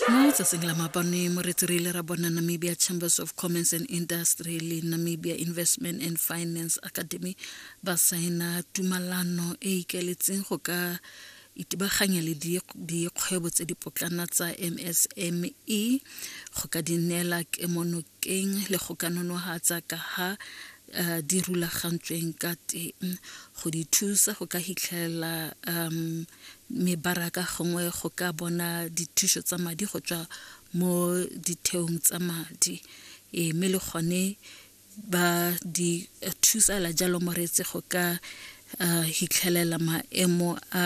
Mo tsatsing la maabane moretsi re ile ra bona Namibia Chambers of Commerce and Industry le Namibia Investment and Finance Academy ba saena tumalano e ikaeletseng go ka itebaganya le dikgwebo tse dipotlana tsa MSME go ka di neela kemonokeng le go ka nonohatsa ka ha uh, di rulagantsweng ka teng go di thusa go ka hitlhelela um mebaraka gongwe go ka bona dithuso tsa madi go tswa mo ditheong tsa madi e mme le gone ba di thusala jalo moreetsi go ka uh, hitlhelela maemo a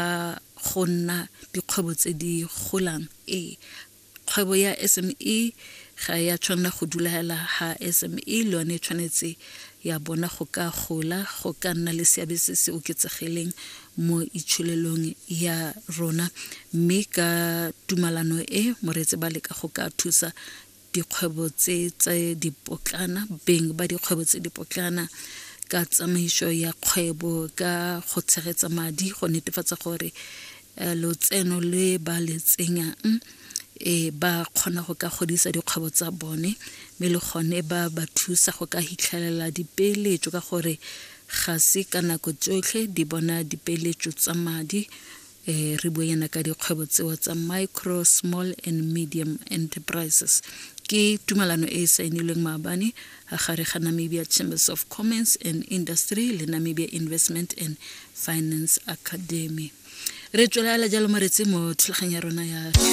go nna dikgwebo tse di golang ee kgwebo ya SME ga ya tshwanela go dula ha SME le yone e tshwanetse ya bona go ka gola go ka nna le seabe se se oketsegileng mo itsholelong ya rona mme ka tumalano e moreetsi ba leka go ka thusa dikgwebo tse tse dipotlana beng ba dikgwebo tse dipotlana ka tsamaiso ya kgwebo ka go tshegetsa madi go netefatsa gore eh, lotseno le ba le tsenyang e ba kgona go ka godisa dikgwebo tsa bone mme le gone ba ba thusa go ka hitlhelela dipeeletso ka gore ga se ka nako tsotlhe di bona dipeeletso tsa madi eh re bue yana ka dikgwebo tseo tsa micro small and medium enterprises ke tumalano e e saenilweng maabane gare ga Namibia Chambers of Commerce and Industry le Namibia Investment and Finance Academy re tswelela jalo moretsi mo thulaganyo ya rona ya